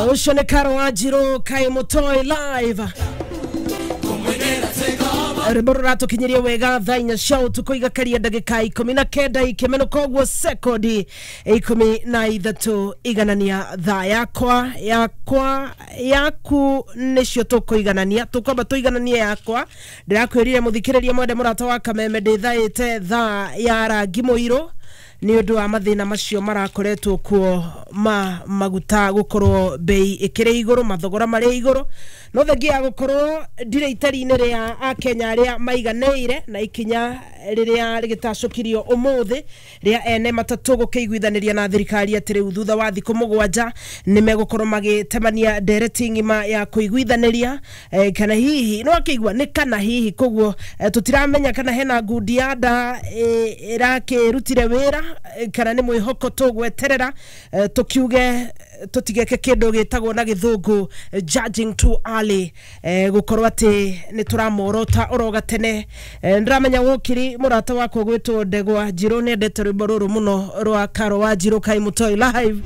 Ũcio nĩ Karo Wanjiru Kai Mũtoi live. Rwĩmbo rũratũkinyĩria wega thaa 4 cia ũtukũ igakaria ndagĩka 19 ikĩmenũka ũguo sekondi 13 iganania thaa yakwa yakwa yaku nĩcio tũkũiganania, tũkwamba tũigananie yakwa. Ndĩrakwĩrire mũthikĩrĩria mwende mũrata wa Kameme ndĩthaĩte thaa ya rangi mũirũ nĩ ũndũ wa mathĩna macio marakoretwo kuo ma maguta gũkorwo bei ĩkĩrĩ igũrũ, mathogora marĩ igũrũ, no thengia ya gũkorwo ndirĩ itari-inĩ rĩa akenya arĩa maiganĩire na ikinya rĩrĩa rĩgĩtacũkirio ũmũthĩ rĩa ene matatũ gũkĩiguithanĩria na thirikari atĩ rĩu thutha wa thikũ 7 nĩ megũkorwo magĩtemania ndereti ng'ima ya kũiguithanĩria, kana hihi no akĩigua nĩ kana hihi koguo, tũtiramenya kana hena ngundi ya nda ĩrakĩrutire wĩra, kana nĩ mwĩhoko tũgweterera, tũkiuge tũtigeke kĩndũ gĩtagwo na gĩthũngũ judging too early, gũkorwo atĩ nĩ tũramorota oro gatene. Ndĩramenya wokiri mũrata wakwa gwĩtwo Ndegwa Njirũ nĩ endete rwĩmbo rũrũ mũno rwa Karo Wanjiru Kai Mũtoi live.